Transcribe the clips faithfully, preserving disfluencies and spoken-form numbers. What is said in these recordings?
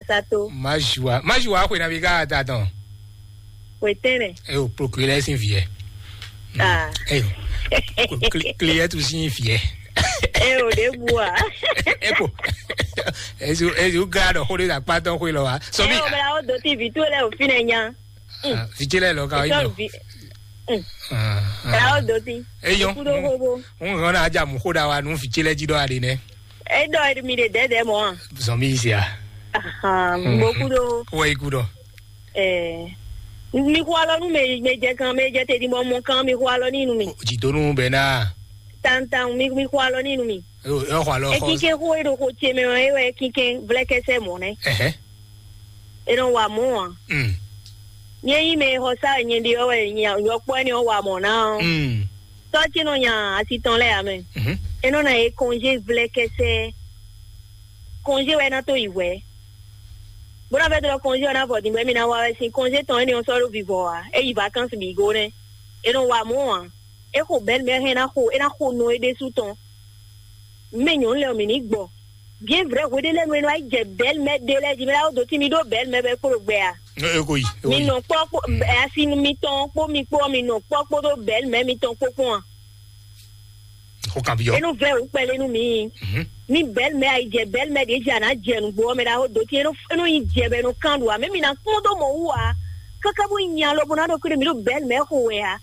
Sato. Majoa, Majoa xwe na bi ka ta tɔn. Xwe tɛnɛ. E o procureur sin viɛ. Ah. E o. Client sin viɛ. E o de bua. E ko. Ezu ezu ga dɔ xo de akpa tɔn xwe lɔ wa. So mi. E o bla o do ti vi to le o fi ne nya. Vijele lɔ ka yi nɔ. Bla o do ti. Eyo. Kudo hobo. Un hɔn na aja mu xo da wa nu vijele ji dɔ ade nɛ. E dɔ mi de dɛdɛ mɔ. Zɔn mi sia. Aha, mo kudo. Wo yi kudo. Eh, mi xo alɔ nu me me jɛ kan me jɛ te di mɔ mɔ kan mi xo alɔ ni nu mi. Jidonu bɛ na. Tantan mi mi xo alɔ ni nu mi. Yo yo xo alɔ xɔ. Ekin ke xo e ɖo xo ce mɛ ɔ e wɛ ekin ke vlɛ kɛsɛ mɔ nɛ. Ɛhɛ. E nɔ wa mɔ a. Mm. Nye yi me xɔ sa nye ɖi ɔ wɛ nya yɔkpɔ ni ɔ wa mɔ na ɔ. Mm. Tɔ ce nɔ nya asi tɔn lɛ ya mɛ. Mhm. E nɔ na ye congé vlɛ kɛsɛ. Congé wɛ na to yi wɛ. Bó ná fẹ́ dɔn kɔnzí ɔ́ ná vɔ din bɔ émí ná wa wɛ sín kɔnzí tɔn énɛ́ ɔ́ sɔ́ ɖó vivɔ ǎ. É yi vakansi bǐ go nɛ́. É nɔ wa mɔ̌ ǎ. É xo bɛ̌ mɛ hɛn ná xo é ná xo nɔ é ɖésú tɔn. Mɛ nyɔ̌nu lɛ́ɛ ɔ́ mǐ ní gbɔ. Bien vrai hweɖé lɛ́ɛ nu é nɔ wá yi jɛ bɛ̌ mɛ ɖé lɛ́ɛ jí mɛ ná dó tí mi ɖó bɛ̌ mɛ bɛ kpó ɖo gbɛ a? E ko yi. Mi nɔ kpɔ kpó asi mitɔn kpó mi kpó mi nɔ kpɔ kpódó bɛ̌ mɛ mitɔn kpó kpɔn a? Xó kan byɔ́. Enu vɛ wǔ kpɛlɛ nú mi. Mhm. Ní bɛ̌l mɛ ayi jɛ bɛ̌l mɛ ɖě jɛ a nǎ jɛ nǔgbó ɔ́ mɛ ɖaxó dó tí é nɔ é nɔ nyi jɛ bɔ é nɔ kán ɖu ǎ. Mɛ mi ná kpɔ́n dó mɔ wú ǎ. Káká bó nyi alɔ bó ná ɖo kúɖé mi ɖo bɛ̌l mɛ xo wɛ ǎ.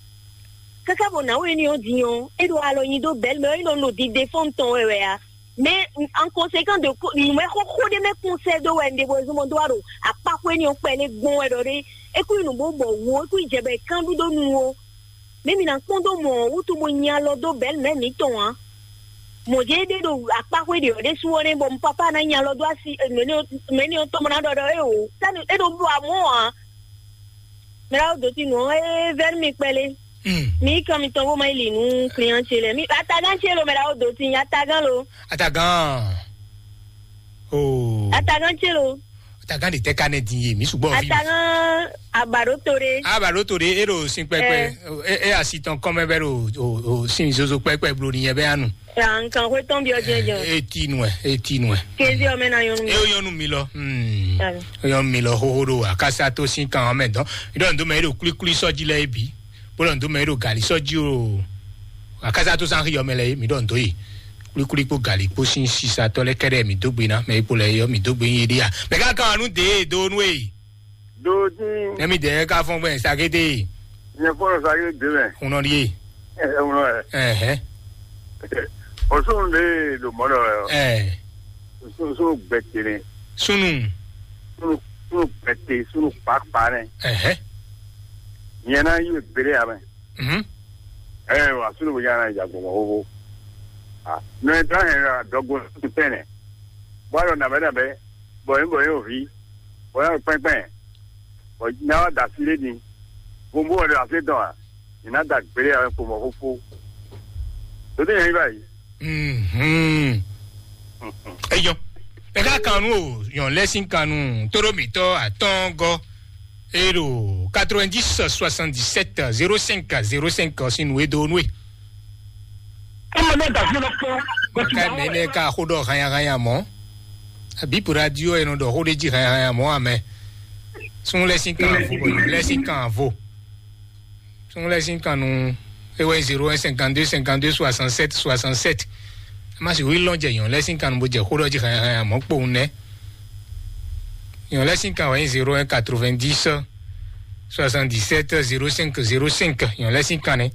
Káká bɔ nǎwe énɛ́ ɔ́ din ɔ́, é ɖo alɔ nyi dó bɛ̌l mɛ ɔ́, é nɔ nɔ ɖiɖe fɔ́n tɔn wɛ wɛ ǎ. Mɛ en conséquent de nǔmɛ xóxó ɖé mɛ kún sɛ dó wɛ un ɖe bɔ zɔmɔ dó wá ɖo akpáxwé énɛ́ ɔ́ kpɛlɛ gbɔn wɛ ɖɔ ɖé. É kú nyi nǔ bó bɔ wǔ, é kú nyi jɛ bɔ è kán ɖu dó nu ó. Mɛ mi ná kpɔ́n dó mɔ wútu bó nyi alɔ dó bɛ̌ mɛ mǐtɔn ǎ. Mɔ̌ jɛ́n é ɖe ɖo akpáxwé ɖě ɔ́ ɖésú ɔ́ nɛ́ bɔ un papá ná nyi alɔ dó asi mɛ̌ni ɔ́ tɔn bó ná ɖɔ ɖɔ é o sani é ɖo bló amɔ̌ ǎ. Mɛ ɖaxó dó ti nǔ ɔ́ é vɛ́ nú mi kpɛlé. Mi yí kan mitɔn bó má yi li nú kliyan ce lɛ́ɛ. Mi atagán ce lo mɛ ɖaxó dó ti nyi atagán lo. Atagán. Oh. Atagán ce lo. Atagán de tɛ ka nɛ din ye mi sugbɔ fi. Atagán abaɖó to ɖé. Abaɖó to ɖé e ɖo sin kpɛkpɛ. E e asi tɔn kɔmɛ bɛ ɖo o o sin zozo kpɛkpɛ blo ni yɛ bɛ anu. Nkan xwe tɔn bi ɔjɛ jɔ. E ti nu ɛ e ti nu ɛ. Kezi ɔmɛ na yɔnu mi. E yɔnu mi lɔ. Hmm. Yɔnu mi lɔ xoxo ɖo akasa to sin kan ɔmɛ dɔn. Idɔ ndo mɛ e ɖo kulikuli sɔji lɛ e bi. Bó ɖɔ ndo mɛ e ɖo gali sɔji o. Akasa to san xiyɔ mɛ lɛ e mi ɖɔ ndo yi. Kulikuli kpo gali kpo sin sisatɔ lɛ kɛɖɛ mi dó gbe na mɛ e kpo lɛ yɔ mi dó gbe nyi ɖia. Mɛ ka kan nu de do nu e. Dodi. Ɛmi dɛ ka fɔn gbɛ sakete. Nye fɔlɔ sa ye de mɛ. Hunɔ di ye. Ɛ ɛ wulɔ yɛ. Ɛhɛ. Ɔsùn de do mɔ dɔ yɛ. Ɛ. Sunu sunu gbɛtɛnɛ. Sunu. Sunu sunu gbɛtɛ sunu kpakpa nɛ. Ɛhɛ. Nyɛ na yi bere ya mɛ. Mhm. Ɛ wa sunu bo nyana ya gbɔmɔ hoho. Ah, no e ta hɛn la dɔgbo sunu tɛnɛ. Bɔ alɔ nabɛ nabɛ. Bɔ yin bɔ yin ovi. Bɔ yin kpɛnkpɛn. Bɔ yin wa da si le ni. Bombo wa da se dɔn a. Yin na da gbere ya mɛ kpomɔ fofo. To te yin ba yi. Mhm. Eyo. Eka kanu o, yon lesin kanu, toro mitɔ atɔngɔ. Ero quatre-vingt-dix soixante-dix-sept zéro cinq zéro cinq sin we do nue. Ɔmɔ náà dàbí ọlọ́pàá. Ka mene ka hodo hanya hanya mo. Abi pour radio e no do hode ji hanya hanya mo ame. Sun lesin kan vo, lesin kan vo. Sun lesin kan nu. E wɛ zéro un cinquante-deux cinquante-deux soixante-sept soixante-sept. Ma si wi lɔn jɛ yon lesin kan bo jɛ hodo ji hanya hanya mo kpo ne. Yon lesin kan wɛ zéro un quatre-vingt-dix soixante-dix-sept zéro cinq zéro cinq. Yon lesin kan ne.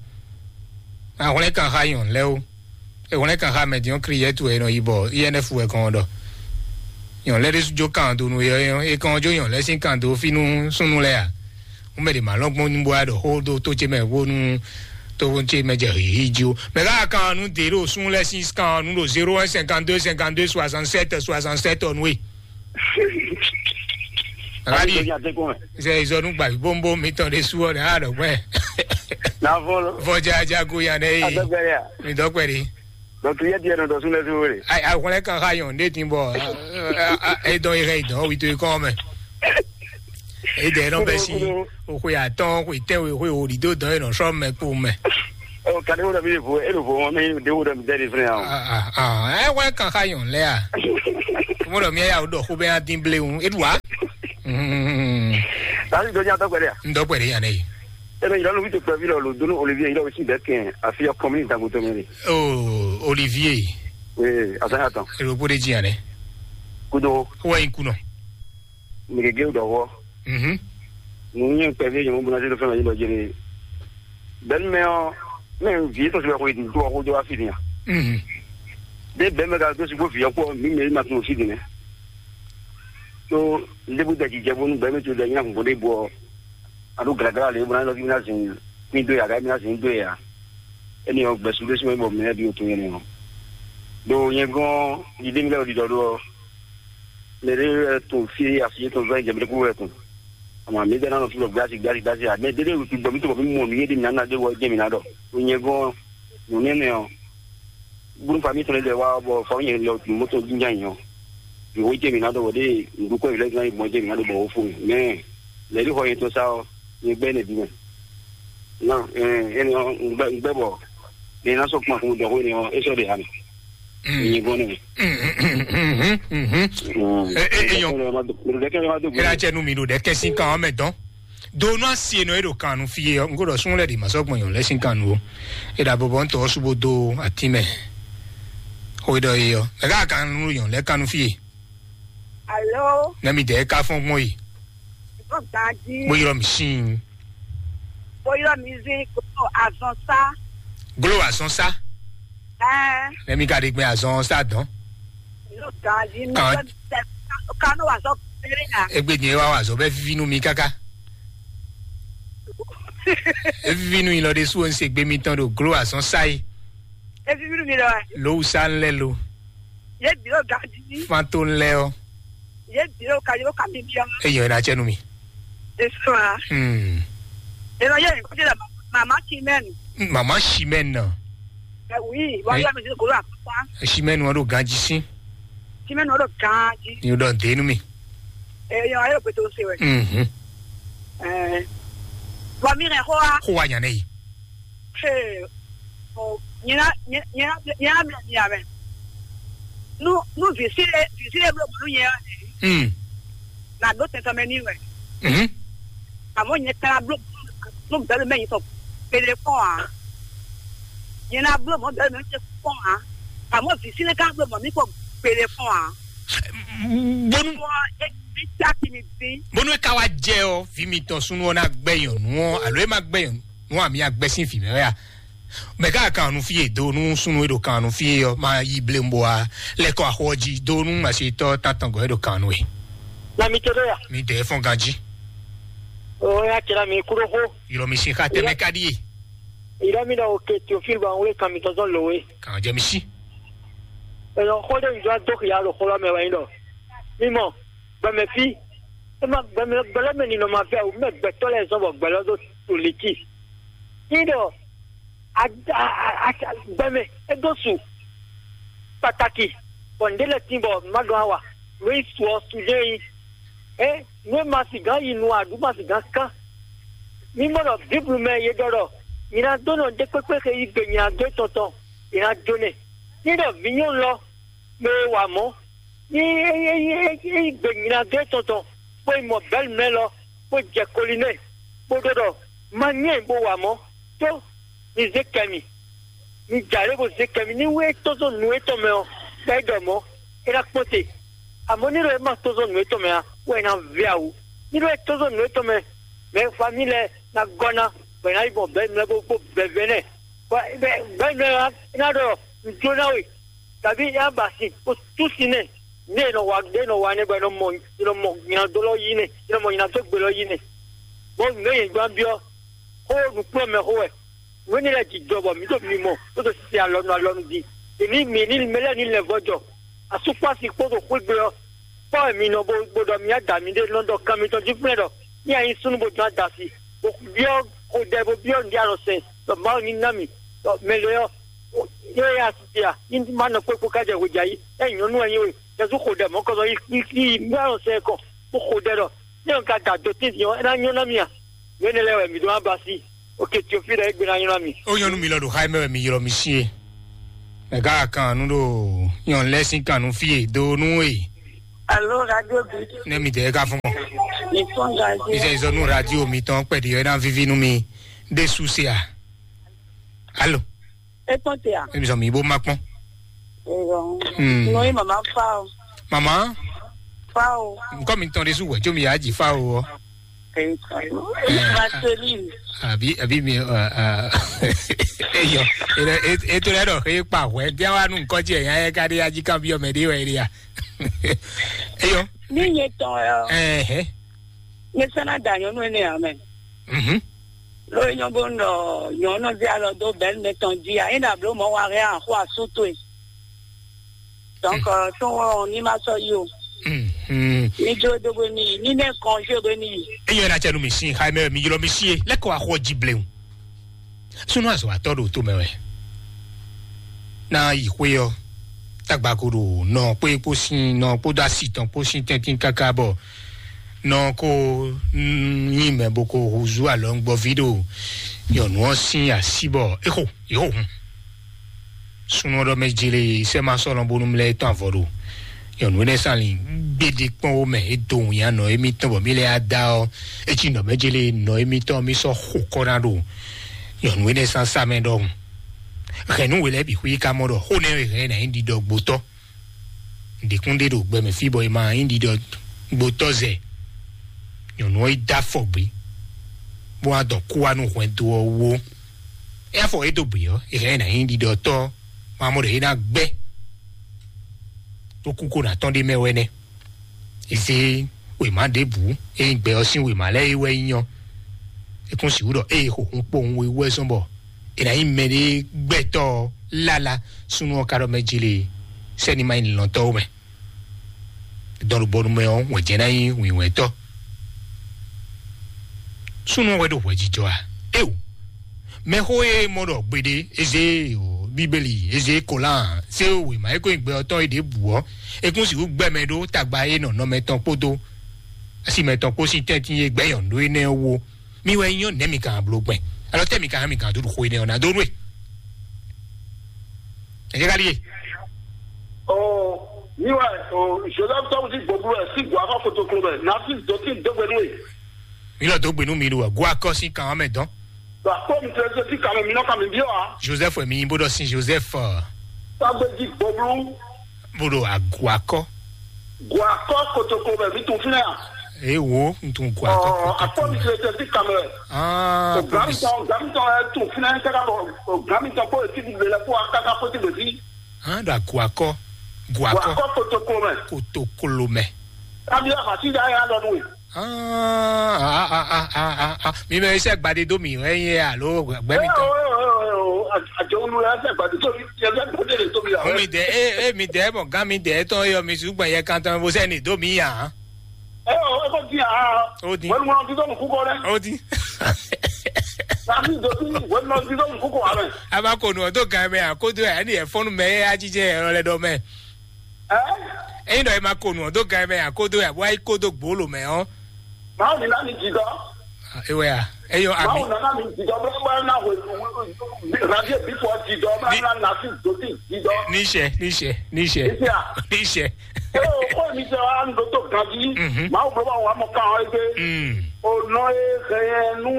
Ahwlɛ́n kan xa yon lɛ o. Ehwlɛ́n kan xa mɛ din ɔ́, Kliyɛtu wɛ è nɔ yi bɔ I N F wɛ kɔn ɔ́ ɖɔ. Nyɔ̌ lɛ́ɛ ɖésú jó kan dó nú é ɔ́, é kɔn ɔ́ jó nyɔ̌ lɛ́ɛ sín kan dó fí nú súnnu lɛ́ɛ a? Un mɛ ɖě ma lɔn gbɔn nú bó wá ɖɔ xó dó tó ce mɛ bónú tó ce mɛ jɛ hǐhí jí ó. Mɛ ká kan nú dě ɖo súnnu lɛ́ɛ sín kan ɔ́ nú ɖo zéro un cinquante-deux cinquante-deux soixante-sept soixante-sept ɔ́ nú é. Ayi. Sɛ izɔnu gba bónbó mitɔn ɖe su ɔ́ ɖe a ɖɔ gbɛ. Na vɔ lo. Vɔ jaja go ya ɖe yi. Adɔgbɛlɛ a. Mi dɔ kpɛ ɖi. Donc yɛ diɛ nɔ dɔ sun lɛ so wele. Ayi, ahwlɛ kan xa yɔn ne tin bɔ. E dɔn yi hɛ yi dɔn wi to yi kɔn mɛ. E dɛ nɔ bɛ si. O xwe atɔn xwe tɛ we xwe o ɖi do dɔn e nɔ sɔ mɛ kpo mɛ. Ɔ kadi wo dɔ mi vo e lo vo wɔn mi de wo dɔ mi dɛ de fɛnɛ yan. Ɛ wɛ kan xa yɔn lɛ a. Mo dɔ mi ya o dɔ xo bɛ ya din ble un. E du wa. Mm. Tasi dɔ nya dɔgbɛ ɖe a? N dɔgbɛ ɖe yan ne. Ebe yɔrɔ nu vito kpɛvi lɔ lo donu Olivier yɔrɔ si bɛ kɛn afi yɔ kɔmini dango tɔmɛ de. Oh, Olivier. Oui, asa ya tɔn. Ero bode ji yan ne. Kudo. Wa in kuno. Migege dɔ wɔ. Mhm. Nu nyɛ kpɛvi yɔ mo buna se do fɛn ma yi dɔ jere. Bɛn mɛ ɔ, mɛ vi to se ko yi do ko do afi ni. Mhm. De bɛn mɛ ka do si bo vi ko mi mɛ ma tun si de ne. To lebu da jijɛ bonu bɛn mɛ to da nya ko de bo. Ado gragla le buna lo ki na zin. Ni do ya ga mi na zin do ya. Eni ɔ gbɛsu ɖé sín bɔ mɛ ɖi otu yɛn nɔ. Ɖo nyɛ gɔn ɖiɖe mi lɛ ɖiɖɔ ɖo ɔ. Mɛ ɖe wɛ tun fi asi tɔn vɛ jɛmɛ kú wɛ tun. Ama mi ɖe na nɔ fi lɔ gbasi gbasi gbasi a mɛ ɖe ɖe wɛ tun bɔ mi tun bɔ mi mɔ mi yé ɖe mi na na ɖe wɔ jɛ mi na ɖɔ. Ɖo nyɛ gɔn nɔ nɛ nɛ ɔ. Bun fa mi tɔn ɖe wa bɔ fa mi yɛ lɔ tun mɔtɔ jinja yɔ. Bi wo jɛ mi na ɖɔ wɔ ɖe ŋdu kɔ yi lɛ gan yi bɔ jɛ mi na ɖo bɔ wo fo mi. Mɛ lɛ ɖi xɔ yɛ tɔn sa ɔ. Nyɛ gbɛ ne bi mɛ. Non, eh, ene ɔ, un gbɛ, un gbɛ bɔ. Ne na sɔ kuma kun dɔ ko ne ɔ, e sɔ de hami. Mm. Ni bɔ ne. Mm, mm, mm, mm, mm, mm. Mm. Eh, eh, eh, yo. Mo de kɛ ma do. Era che nu mi do de ke sin kan me don. Do no asi no e do kan nu fie ɔ, ngo do sun le di ma sɔ gbɔn yon le sin kan nu o. E da bɔbɔ n tɔ subo do ati mɛ. Ho do e ɔ. E ka kan nu yon le kan nu fie. Alo. Ne mi de ka fɔn gbɔn yi. Mo gbadi. Mo yɔrɔ mi sin. Mo yɔrɔ mi zin ko azɔn sa. Glo azɔn sa. Ɛɛ. Ne mi ka de gbɛ azɔn sa dɔn. Mo gbadi. Kan. Kanu wa sɔ pere ya. Egbe ni wa wa zɔ bɛ vivi nu mi kaka. E vivi nu yi lɔ de su o n se gbe mi tɔn do glo azɔn sa yi. E vivi nu mi lɔ. Lo sa n lɛ lo. Ye bi o gadi. Fan to n lɛ o. Ye bi o ka yo ka mi bi o. E yɛn na cɛ nu mi. Esuma. Hmm. E ma ye ko de la mama Chimène. Mama Chimène na. Eh oui, wa ya mi ko la papa. Chimène wa do ganji sin. Chimène wa do ganji. Ni o dɔ de nu mi. Eh yo ayo pe to se we. Mhm. Eh. Wa mi re ho a. Ho wa nya ne yi. Ee, ɔ, nyɛ ná, nyɛ, nyɛ ná, nyɛ ná mlɔ mi ǎ mɛ. Nú, nú vǐ sí ɖé, vǐ sí ɖé bló mɔ̌ nú nyɛ ɔ́, Hmm. Nǎ ɖó tɛn tɔn mɛ n'i wɛ. Mhm. Amɔ̌ nyɛ ka ná bló mɔ̌ nú bɛ̌lu mɛ nyitɔn kpéɖé kpɔ́n ǎ. Nyɛ ná bló mɔ̌ bɛ̌lu mɛ nyitɔn kpɔ́n ǎ. Amɔ̌ vǐ sí ɖé ka bló mɔ̌ mì kpɔ́n kpéɖé kpɔ́n ǎ. Bónú Bɔ é, é tá kí mi dín. Bónú é ka wá jɛ ɔ́, vǐ mitɔn súnnu ɔ́ ná gbɛ nyɔ̌nu ɔ́, alo é má gbɛ nyɔ̌nu ɔ́, àmì agbɛ́ sín vǐ mɛ wɛ a? Mɛ ká kan nu fí e do nú súnnu e ɖo kan nu fí e ɔ́, má yí blémbo a lɛ́ kɔ axɔ ɔ́ jí do nú masitɔ́ tántɔngɔ́ e ɖo kan nu e. Na mi to ɖo ya. Mi dɛ fɔn ganjí. O ya kira mi kúrò xó. Yɔrɔ mi sin xa tɛmɛ ka ɖíe. Ìrọ́ mi ɖɔ òkè Théophile bɔ àwọn wúlé kan mi tɔn zɔn lòwe. Kàn jẹ́ mi sí. Èèyàn xó ɖé mi dó dó xìyà ɖo xó lɔ mɛ wɛ nyí ɖɔ. Mímɔ, gbɛmɛ fí. É má gbɛmɛ gbɛlɛmɛ ninɔ ma fẹ́ o, mɛ gbɛtɔ́ lɛ zɔn bɔ gbɛlɔ dó to liti. Ní ɖɔ a, a, a, a, gbɛmɛ é dó su pàtàkì bɔ ǹdé lɛ tín bɔ má ɖɔn àwà lóyún su ɔ su jẹ́ yín. É nú é ma sì gán yi nu aɖǔ ma sì gán kán. Mí mɔ ɖɔ Bíblu mɛ ye ɖɔ ɖɔ nyɛ ná dó nɔ ɖé kpékpé xe yí gbe nyɛ ná dó tɔn tɔn, yě ná jó nɛ. Ní ɖɔ vǐ nyɔ́nu lɔ mɛ e wa mɔ̌, ní é yí gbe nyɛ ná dó tɔn tɔn, bó yi mɔ bɛ̌lu mɛ lɔ, bó jɛ koli nɛ, bó ɖɔ ɖɔ ma nyɛ bó wa mɔ̌, tó mi zé kɛ mì. Mi jǎ lé bó zé kɛ mì ní wú é tɔ́n zɔn nǔ étɔn mɛ ɔ́, bɔ é ɖɔ mɔ̌, é ná kpɔ́n te. Amɔ̌ ní ɖɔ é ma tɔ́n zɔn nǔ étɔn mɛ ǎ, wɛ é ná vɛ́ awu. Ní ɖɔ é tɔ́n zɔn nǔ étɔn mɛ, mɛ famí lɛ́ɛ ná gɔ́ ná, bɔ é ná yi gbɔn bɛ̌ mɛ bó bó bɛ̌ vɛ́ nɛ́. Bɔ bɛ̌ mɛ ɔ́, é ná ɖɔ nǔ jó ná we, tàbí é ná ba sin, bó tú sin nɛ́. Ní è nɔ wa, ní è nɔ wa nɛ́ bɔ è nɔ mɔ, è nɔ mɔ nyinadó lɔ yí nɛ́, è nɔ mɔ nyinadó gbe lɔ yí nɛ́. Bɔ nǔ e yě gbán byɔ́, xó nǔkplɔ́nmɛ xó wɛ. Nǔ énɛ́ lɛ́ɛ jijɔ bɔ mǐ ɖo mimɔ, bó ɖo sisi alɔnu alɔnu jí. È ní mǐ ní mɛ lɛ́ɛ ní lɛ́ vɔ́ jɔ. Asúkpási kpódò xwégbe ɔ́, kpɔ́ wɛ mi nɔ bó bó ɖɔ mǐ adǎ mǐɖée nɔ ɖɔ kan mitɔn jí kplɛ́ ɖɔ ní a nyí súnnu bó dɔn adasi, bó byɔ́ xodɛ bó byɔ́ nǔɖé alɔ sɛn, ɖɔ Mawu ní ná mì, ɖɔ mɛ lě ɔ́, é yá sisi a, ní má nɔ kpékpó ká jɛ hwejà yí, é nyɔ̌nu wɛ nyí we, Jezu xodɛ mɔ̌kɔzɔ yí yí yí nǔɖé alɔ sɛn kɔn, bó xodɛ ɖɔ ní ɔ́ ka da dó tɛ́ntin ɔ́, é ná nyɔ́ ná mì a? Nǔ énɛ́ lɛ́ɛ wɛ mǐ ɖó ná ba sí. Oke Teofil ɖɔ égbé ná nylá mi. Ó nyɔ́nú mi lɔ ɖo xá mɛ wɛ mi ylɔ́ mi sí e. Mɛ gá kan nú ɖo nyɔ̌nu lɛ́ɛ sín kan nú fí e dó nú e. Alo, radio bi. Nɛ mi dɛ ka fún mɔ. Mi fɔ́n ganjí. Ìzɛ ìzɔ nú radio mi tɔn pɛ̀lú ẹ̀ náà víví nú mi dé súsì à. Alo. Etɔn te à? Èmi sọ mi bó má pọ́n. Ìrọ̀rùn. Hmm. Nù yín màmá fa o. Màmá. Fa o. Nǹkan mi tán dé sú wẹ̀ tí omi yà á jì fa o. Ɔ. Èyí kan. Marceline. Àbí àbí mi eyɔ ètò rẹ dɔ xé pa hwẹ bí wàá nù nǹkan tiẹ̀ yẹn ayẹ ká dé ají kan bí ọmọ ẹ̀dẹ́ wẹ̀ ẹ̀dẹ́ yà. Eyɔ. Ní yẹn tán ẹ. Ẹ̀hẹ́. Ní sẹ́nà dà nyɔnú ẹ̀ ní àmẹ́. Mhm. Lórí nyɔ́ bó nɔ nyɔ̌ nɔ zé alɔ dó bɛ̌ mɛ tɔn jí a, é ɖo ablǒ mɔ̌ wa hɛn axó asú towe. Donc, tó wɔn ní ma sɔ́ yí o. Mhm. Ní jó dó bó ní yí, ní nɛ kɔn jó bó ní yí. Eyɔ na cɛ nu mi sin xa mɛ mi ylɔ mi sie lɛkɔ axɔ ji blewu. Sunu azɔ atɔ ɖo to mɛ wɛ. Na yi xwé ɔ, tagba ko ɖo nɔ kpé kpó sin nɔ kpódó asi tɔn kpó sin tɛntin káká bɔ nɔ ko nyi mɛ bó ko húzú alɔngbɔví ɖo nyɔ̌nu ɔ́ sín así bɔ é xo yě xo hun. Súnnu ɔ́ ɖɔ mɛ jele sɛ́ ma sɔ́lɔ́n bónú mlɛ́ tɔn avɔ ɖo nyɔ̌nu énɛ́ sán lin gbéɖé kpɔ́n wó mɛ é dó wǐnyanɔ émítɔn bɔ mí lɛ́ á dá ɔ́, é cí nɔ mɛ jele nɔ émítɔn mí sɔ́ xo kɔ́ ná ɖo nyɔ̌nu énɛ́ sán sá mɛ ɖɔhun. Hɛ̌nnu we lɛ́ɛ bǐ xwí ka mɔ ɖɔ xó nɛ́ e hɛn ɛ ná nyí ɖiɖɔ gbotɔ́. Ɖěkún ɖé ɖo gbɛ mɛ fí bɔ è ma nyí ɖiɖɔ gbotɔ́ zɛ. Nyɔ̌nu ɔ́ yi dó afɔ gbé, bó wá dɔ kú wá nú hwɛndo ɔ́ wú. É afɔ é dó gbé ɔ́, è hɛn ɛ ná nyí ɖiɖɔtɔ́, ma mɔ ɖɔ é ná gbɛ́ ɖó kú kó ná tɔ́n ɖé mɛ wɛ nɛ́. È zé wěma ɖěbǔ, é nyí gbɛ ɔ́ sín wěma lɛ́ɛ é wɛ nyí ɔ́. É kún sixú ɖɔ ée xo hun kpowun we wú wɛ zɔ́n bɔ è nǎ nyí mɛɖé gbɛtɔ́ ɔ́ lála súnnu ɔ́ ka ɖɔ mɛ jlé sɛ́ni ma nyí lɔ̌ntɔ́ ó mɛ. Dɔn ɖo bɔnu mɛ ɔ́, wɛ̌ jɛ ná nyí wǐwɛ́tɔ́. Súnnu ɔ́ wɛ ɖo hwɛjijɔ a? Éeǒ! Mɛxó e mɔ ɖɔ gbeɖé, Ezée o, Bíbélì, Ezée Kolán, zé wěma e ko nyí gbɛ ɔ́ tɔn é ɖěbǔ ɔ́, é kún sixú gbɛ mɛ ɖó tagba e nɔ nɔ mɛtɔn kpódó asi mɛtɔn kpó sín tɛ́ntin e gbɛ́ nyɔ̌nu énɛ́ ɔ́ wú ó. Mi wɛ nyɔ́ nɛ̌ mi ka bló gbɛn? Alɔ tɛ́ mi ka mi ka dó ɖo xó énɛ́ ɔ́ ná dó nú e? Ɛ jẹ́ ká ɖíe. Ɔ, mi wɛ, ɔ, Joseph tɔn ti gbɔgbɔ wɛ sí gbɔ afɔ kotoklo mɛ. Nafi dɔtí dɔgbɛ nú e. Mi lɔ dó gbe nú mi ɖo wɛ. Gua kɔ sín kan mɛ dɔn. Ba kpɔ mi tɛ sí kan mɛ mi nɔ kan mi biɔ a. Joseph wɛ mi nyi bó ɖɔ sin Joseph. Tagbe jí gbɔgbɔ. Bó ɖo agu akɔ. Guakɔ kotoko bɛ mi tun fínɛ a? Ee wo, n tun guakɔ kotoko. Akpɔ mi tile tɛ ti kamɛ. Ah, o gami tɔn, gami tɔn ɛ tun fínɛ kaka bɔ o gami tɔn kó eti bi lɛ kó akaka kó ti bɛ fi. Hàn ɖo aguakɔ. Guakɔ. Guakɔ kotoko mɛ. Kotokolo mɛ. Kabi a ma ti da ya lɔ nu ye. Ah, ah, ah, ah, ah, ah. Mi mɛ iṣẹ́ gbadé dó mi ɛ yẹ alo gbẹ mi tán. Àjọ olú ẹ fẹ́ gbadé tó mi ẹ fẹ́ gbadé lè tó mi àwọn. Omi dẹ e e mi dẹ mọ gán mi dẹ tán yọ mi ṣùgbọ́n yẹ kan tán bó sẹ́ni dó mi yàn. Ẹ ò ẹ kò dín àá. Ó dín. Wọ́n mú ọtí tó mú kúkọ rẹ. Ó dín. Tàbí ìdòtí wọ́n mú ọtí tó mú kúkọ rẹ. A máa kò nù ọ́ tó gan mẹ́ àkójọ ẹ̀ ní ẹ̀fọ́nù mẹ́ ẹ̀ á jíjẹ́ ẹ̀rọ lẹ́dọ̀ mẹ́. Ẹ́? Ẹ̀yin dɔ ẹ ma ko nù ọ́ dó gan mɛ àkódó yà bó ayé kódó gbòólò mɛ ɔ́. Màá mi ná mi jì dɔ. Ewé a, ẹyọ àmì. Màá mi ná mi jì dɔ bẹ́ẹ̀ bá ná wẹ̀ rádíò bí fọ́ jì dọ bá ná nà sí dòtí jì dọ. Níṣẹ́ níṣẹ́ níṣẹ́. Níṣẹ́ à. Níṣẹ́. Ẹ o kó mi jẹ wa ń dótó gan jí. Mhm. Màá wò bá wà mọ̀ ká wọn ẹgbẹ́. Mm. Ò nọ e hẹ̀yẹ nú.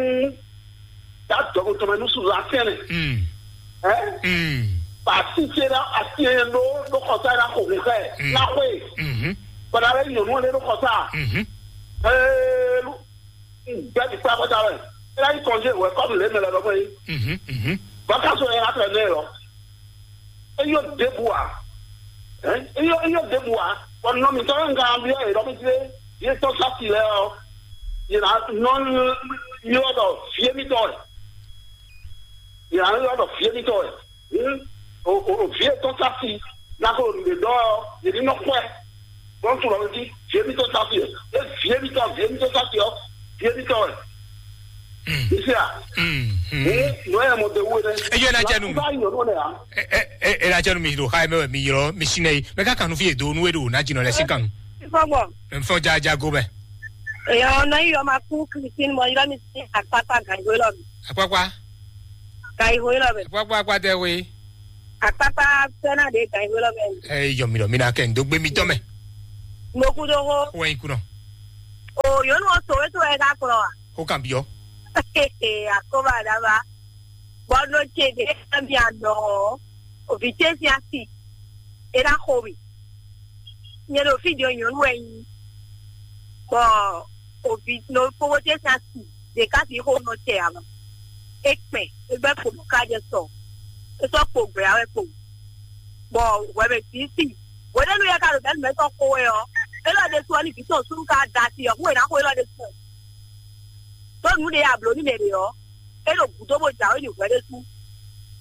Tá dɔgɔtɔrɔ nu sùn la sɛnɛ. Mm. Ɛ? Mm. Ba si se la asi yɛ lo lo kɔsa la ko kun kɛ. Mm. La ko ye. Mhm. Bana le nyɔnu le lo kɔsa. Mhm. Ee lu. Bɛɛ bi kpa kɔta wɛ. E la yi kɔnje wɛ kɔmi le mɛ lɛ lɔ mɛ yi. Mhm. Mhm. Baka so yɛ la tɛ ne lɔ. Eyɔ ɖěbǔ ǎ. Ɛ? Eyɔ eyɔ ɖěbǔ ǎ. Bɔ nɔ mǐtɔn e un ka byɔ́ yě ɖɔ mì tlé, yě tɔ́ sɔ́ si lɛ́ɛ ɔ́, yě ná nɔ ylɔ́ ɖɔ vǐ émítɔn wɛ. Yě ná ylɔ́ ɖɔ vǐ émítɔn wɛ. Hǔn o o o vǐ e tɔ́ sɔ́ si ná ko ɖo nǔɖé ɖɔ ɔ́, yě ní nɔ xwɛ. Bɔn tu lɔ jí vǐ émítɔn sɔ́ si wɛ. É vǐ émítɔn vǐ émítɔn sɔ́ si ɔ́, vǐ émítɔn wɛ. Isia. Ee, nɔ yɛ mɔ de wo ne. Eye na jɛ nu. Ba yɔ no ne ya. E e e na jɛ nu mi do xa mɛ mi yɔ mi sine. Mɛ ka kanu fi do nu e do na jinɔ lɛ si kanu. Fɔgbɔ. Mfɔ ja ja go bɛ. Eyɔ nɔ yi yɔ ma ku Christine mɔ yɔ mi si akpakpa gango lɔ mi. Akpakpa. Gango lɔ mi. Akpakpa akpa tɛ we. Akpakpa fɛna de gango lɔ mi. Ɛ yɔ mi lɔ mi na kɛ ndo gbe mi tɔ mɛ. Mo ku do ho. Wɛn kunɔ. O nyɔnu ɔ so wɛ to wɛ ka kplɔ a? Xó kan byɔ́. Akóba daba. Bɔdɔ ce ɖe emi anɔ ɔ, ovi ce si asi. E na xo mi. Nye ɖo fi ɖe nyɔnu wɛ nyi. Bɔ ovi no kpókpó ce si asi. Ɖeka si xo nɔ tɛ ama. E kpɛ, e gbɛ kpo ɖo ka jɛ sɔ. E sɔ kpo gbɛ awɛ kpo. Bɔ wɛ mɛ si si. Wɛ ɖe nu yɛ ka ɖo bɛlu mɛ sɔ xo wɛ ɔ. E lɔ ɖe su ɔ ni vi tɔn sunu ka da si ɔ, xo e na xo e lɔ ɖe su. Ɖó nǔ ɖé ablo ní mɛ ɖě ɔ́, é ɖo gǔdo bó jǎwe ɖi hwɛ ɖésú.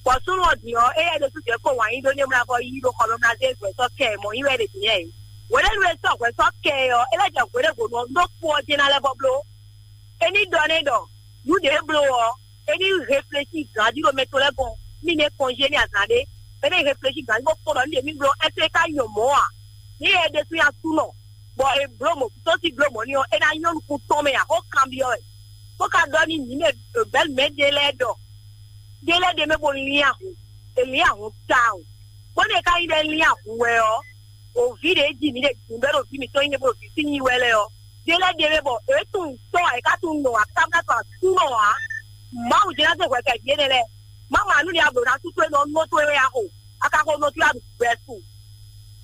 Bɔ súnnu ɔ́ din ɔ́, éyɛ́ ɖésú jɛ kó wǎn yí ɖó ní é mlá vɔ yí ɖó xɔ mɛ mlá zé hwɛ sɔ́ kɛ ɛ mɔ yí wɛ ɖě din ɛ. Hwɛɖénu e sɔ́ hwɛ sɔ́ kɛ ɛ ɔ́, é lɛ́ jɛ hwɛɖévo nú ɔ́ ɖó kpó ɔ́ jɛ́n ná lɛ́ vɔ bló. É ní ɖɔ nɛ́ ɖɔ nǔ ɖě é bló ɔ́, é ní réfléchi gǎn jí ɖo mɛ tɔn lɛ́ɛ gɔ́n, ní ní é kɔnjé ní azǎn ɖé. É ní réfléchi gǎn jí bó kpɔ́ ɖɔ nǔ ɖě mì bló ɛ́ tlé ká nyɔ mɔ̌ a? Ní é ɖésú nyí asúnɔ, bɔ è blǒ mɔ̌ tó sí blǒ mɔ̌ n'i ɔ́, é ná nyɔ́ nukún tɔn mɛ ǎ, xó kanbyɔ́ wɛ, bó ka ɖɔ n'i mǐ mɛ bɛ̌ mɛ ɖé lɛ́ɛ ɖɔ ɖé lɛ́ɛ ɖ'é mɛ bó lín ahun, è lín ahun tawun, bónú è ka nyí ɖɔ é lín ahun wɛ ɔ́, o vǐ ɖě ji mǐ ɖe din bɔ é ɖo vǐ mǐtɔn nyí ɖe bó ɖo vǐ sí nyi wɛ lɛ́ɛ ɔ́, ɖé lɛ́ɛ ɖ'é mɛ bɔ é tunwun tɔ́ ǎ, é ka tunwun nɔ ǎ, é ka tunwun tɔ́ ǎ súnɔ ǎ. Mawu jɛ́n ná zé hwɛ kɛ vǐ énɛ́ lɛ́ɛ. Má ma nú ni a blǒ ná sú towe nɔ nɔ towe wɛ a xo, a ka xo nɔ towe a ɖu gbɛ su.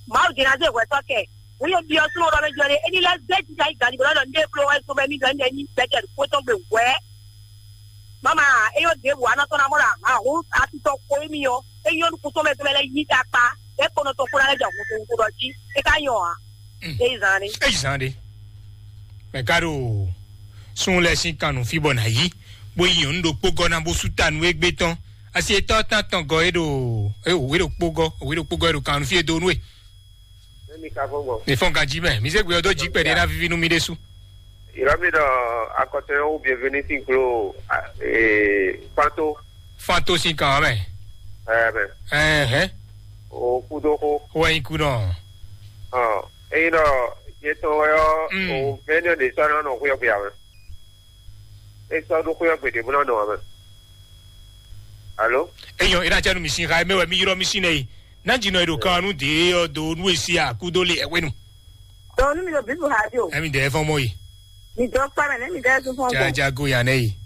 Mawu jɛ́n ná zé hwɛ sɔ́ kɛ. Wǔ yě byɔ́ súnnu ɖɔ mɛ jɔ ɖe, é ní lɛ́ zé jija yi gǎn ɖigbó lɔ ɖɔ ndé bló wɛ zɔn bɔ émí ɖɔ ndé ní gbɛjɛ ɖo xwé tɔn gbe hwɛ̌. Mama, é yɔ ɖěbǔ anɔ tɔn ná mɔ ɖo ahǎn hú atitɔ xo émí ɔ́, é nyɔ́ nukún tɔn mɛ tɔn mɛ lɛ́ yí ta kpá, é kpɔnɔ tɔn xó ná lɛ́ jɛ hun xó ɖɔ jí, é ka nyɔ ǎ. Mm. É yi zan ɖé. É yi zan ɖé. Mɛ ka ɖo sun lɛ sín kan nǔ fí bɔ nǎ yí, bó yi nyɔ̌nu ɖokpó gɔ́ ná bó sú ta nú égbé tɔn. Asi etɔ́ tán tɔn gɔ́ é ɖo é wě ɖokpó gɔ́, wě ɖokpó gɔ́ é ɖo kan nǔ fí e dó nú é. Emi ka fɔn gbɔ. Mi fɔn ganji mɛ, mi se gbe ɔdɔ ji kpɛɖe na vivi nu mi ɖe su. Ila mi ɖɔ akɔtɔn yɛ wo bienvenue sin klo, ee, panto. Fanto sin kan mɛ. Ɛɛ mɛ. Ɛhɛn. O kudo ko. Wɔ yin ku nɔ. Ɔ, eyi nɔ yetɔn wɛ ɔ. Mm. O vɛnɛ de sɔ nɔ nɔ kuyɔ kuya mɛ. E sɔ ɖo xwé ɔ́ gbe ɖě bó ná nɔ ǎ mɛ. Alo? Eyɔn, ina cɛ nu mi sin xa mɛ wɛ mi yrɔ mi sin nɛ yi. Na dzi nɔ yi ɖo kan nu de ɔ do nu esi a kudo le ɛwɛ nu. Dɔnku nu mi ɖo bibu ha di o. Ɛmi dɛ fɔn mɔ yi. Mi dɔ kpa mɛ ne mi dɛ sun fɔn ko. Jaja go ya nɛ yi.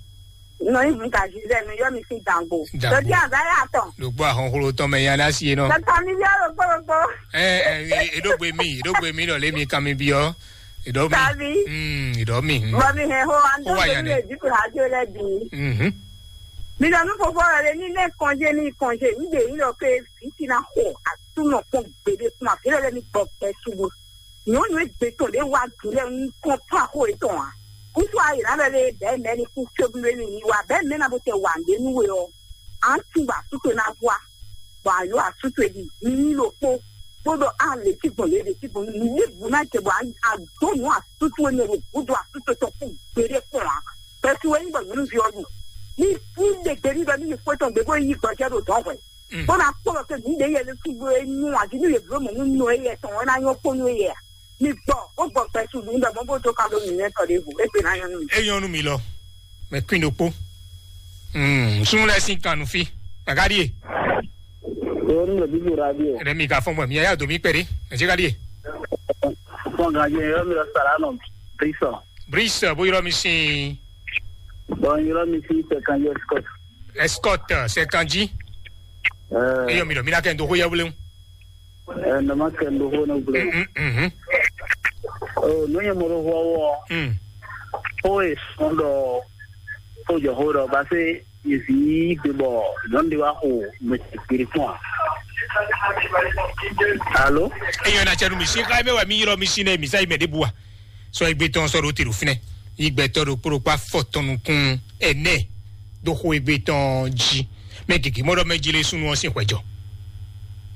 Nɔ yi hun ka zi zɛ mi yɔ mi sin dangbo. Dangbo. Dɔ di a ba ya tɔn. Ɖo gbɔ ahɔnxlo tɔn mɛ ya na si ye nɔ. Dɔkita mi yɔ ɖo kpɔ ɖo kpɔ. Ɛ ɛ eɖo gbe mi eɖo gbe mi nɔ le mi kan mi bi ɔ. Ìdọ́ mi. Tàbí? Mm, ìdọ́ mi. Mm. Bọ̀mí hẹ̀ hó, à ń Ó wà tó yàn ní. Lè dípò àjò lẹ́bi. Mhm. Mi lọ nú fofó rẹ̀ ní ilé ìkànjẹ ní ìkànjẹ nígbè yìí lọ pé fìtínà hó àtúnà pọ̀ gbèdé fún àfihàn lẹ́ni gbọ̀gbẹ́ ṣubú. Nyɔnu egbe tɔn ɖe wa dulɛ ŋkɔ pa xo etɔn a. Kutu ayi na bɛ le bɛ mɛ ni ku tsobu le ni wa bɛ mɛ na bo tɛ wa nde nu we ɔ. An tun ba suto na wa. Bɔ a yɔ asutu e di ni lo kpo. Kpo dɔ a le ti gbɔn le le ti gbɔn ni le bu na jɛ bɔ a do nu asutu e ne lo bu do asutu tɔ ku gbede kpɔn a. Pɛtu e ni bɔ nyɔnu vi ɔ du. Ni ni de gbe ni dɔ ni yi fo tɔn gbe bo yi gbɔjɛ do dɔn hwɛ. Mm. Bó ná kpɔ́ ɖɔ pé mǐ ɖě yɛ lé súgbó é nyú ǎ, jí nú yě bló mɔ̌ nú nɔ éyɛ́ tɔn, é ná nyɔ́ kpó nú éyɛ́ ǎ. Mi gbɔ, bó gbɔ gbɛ su ɖu nú ɖɔ mɔ̌ bó dó ka ɖó nǔnywɛ́tɔ́ ɖěvo, é gbe ná nyɔ́ nú mi. É nyɔ́ nú mi lɔ, mɛ kwín ɖokpó. Mm, súnnu lɛ́ɛ sín kan nǔ fí. Gàgá ɖíe. Lórí lè bíbí radio. Ɛnɛ mi ka fɔn gbɔ mi yá dó mi kpɛɖé. Ɛjɛ ka ɖíe. Fɔn gàdí yɛ mi lọ sàrà nọ. Bísọ̀. Bísọ̀ bó yọrọ mi sin. Bɔn yọrọ mi sin sẹkan yẹ sikọt. Escort, sɛkan jí. Eyɔ mi ɖɔ mi ná kɛ n do xó yɛ wléwu. Ɛɛ nɔ ma kɛ n do xó ne wléwu. Mhm. O nu yɛ mo ɖo xó wɔ. Mm. Xó e sɔn ɖɔ xó jɔ xó ɖɔ ba se yezi gbe bɔ nyɔnu de wa xo mɛ gbiri fún wa. Alo. Eyɔ na cɛ nu mi si xa eme wa mi yɔrɔ mi si ne mi sa yi mɛ de bu wa. Sɔ egbe tɔn sɔ ɖo te ɖo finɛ. Yi gbɛtɔ ɖo kpó ɖo kpá fɔ tɔn nukun ɛnɛ. Ɖo xo egbe tɔn jí. Mɛ gěgé mɔ ɖɔ mɛ jí lé súnnu ɔ́ sín xwɛjɔ.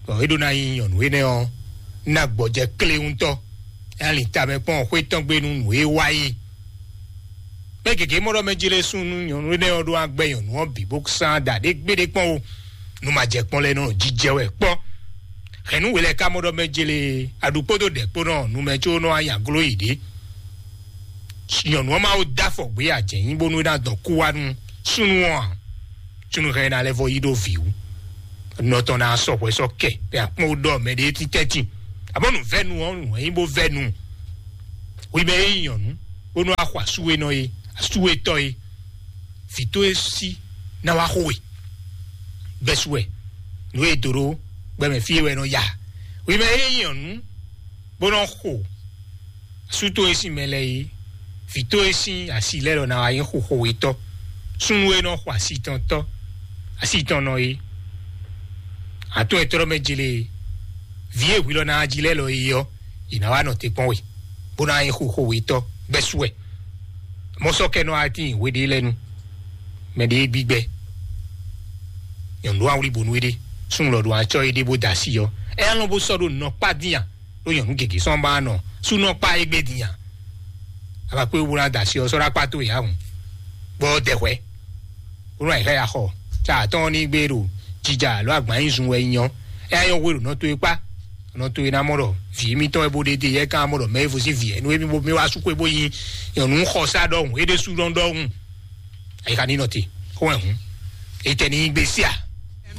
Bɔ é ɖó ná nyí nyɔ̌nu énɛ́ ɔ́, ná gbɔjɛ klé ŋutɔ. É ná lin tamɛ kpɔ́n xwé tɔn gbe nú nǔ e wá é. Mɛ gěgé mɔ ɖɔ mɛ jí lé súnnu nyɔ̌nu énɛ́ ɔ́ ɖó agbɛ nyɔ̌nu ɔ́ bǐ bó sán ɖa ɖé gbéɖé kpɔ́n o. Nu ma jɛ kpɔ́n lɛ́ɛ nɔ jijɛ wɛ kpɔ́. Hɛ̌nnu we lɛ́ɛ ka mɔ ɖɔ mɛ jí lé aɖu kpódó ɖɛ̌ kpó nɔ nu mɛ có nɔ anya gló yi ɖě. Nyɔ̌nu ɔ́ ma wo dó afɔ gbé ajɛ̌ nyi bónú é ná dɔn kú wá nú súnnu ɔ́ ǎ. Súnnu hɛn ná lɛ́ vɔ yí ɖó vǐ wú. Nɔ tɔn ná sɔ hwɛ sɔ kɛ bɛ akpɔn ɖɔ mɛ ɖé títɛ́ tin. Abɔ nǔ vɛ́nu ɔ́ nǔ nyí bó vɛ́nu. Wi mɛ é nyí nyɔ̌nu. bónú axɔ asúwénɔ e, asúwétɔ́ e, vǐ towe sí ná wá xo we. Gbɛ́sú wɛ nǔ e dǒ ɖó gbɛmɛ fí e wɛ nɔ ya. Wi mɛ e nyí nyɔ̌nu bó nɔ xo asú towe sín mɛ lɛ́ɛ é, vǐ towe sín asi lɛ́ɛ lɔ ná wá nyí xoxowetɔ́. Súnnu e nɔ xo asi tɔn tɔ́, asi tɔn nɔ é, atɔ́ e tlɔ́ mɛ jele é, vǐ e hwi lɔ ná wá jí lɛ́ɛ lɔ é ɔ́, yě ná wá nɔ te kpɔ́n we, bó ná nyí xoxowetɔ́ gbɛ́sú wɛ. Mɔ̌ sɔ́ kɛ nɔ wá tíin hwe ɖé lɛ́ɛ nu, mɛ ɖé gbígbɛ. Nyɔ̌nu ɖó awlí bónú éɖé, súnnu lɔ ɖó acɔ́ éɖé bó da asi ɔ́, ɛ alɔn bó sɔ́ ɖó nɔ kpá dín a? Ɖó nyɔ̌nu gěgé sɔ́ ma nɔ súnɔ kpá égbé dín a? Aba kpé wúrú da asi ɔ́ sɔ́ ɖó akpá tó yǎ hùn, bɔ dɛhwɛ wúrú ayǐ xá ya xɔ. Tá àtɔ́n ní gbé ɖo jija alo agban nyi zun wɛ nyɔ, ɛ yɔ hwe ɖo nɔ towe kpá. Nɔ towe ná mɔ ɖɔ vǐ émítɔn wɛ bó ɖe dé yɛ kán mɔ ɖɔ mɛ evo sín vǐ ɛnu émí bó mí wá sú xwé bó nyi nyɔ̌nu xɔsá ɖɔhun é ɖésú ɖɔhun ɖɔhun. Ayi ka ní nɔ te xó wɛ hǔn, etɛ ní gbé sí a?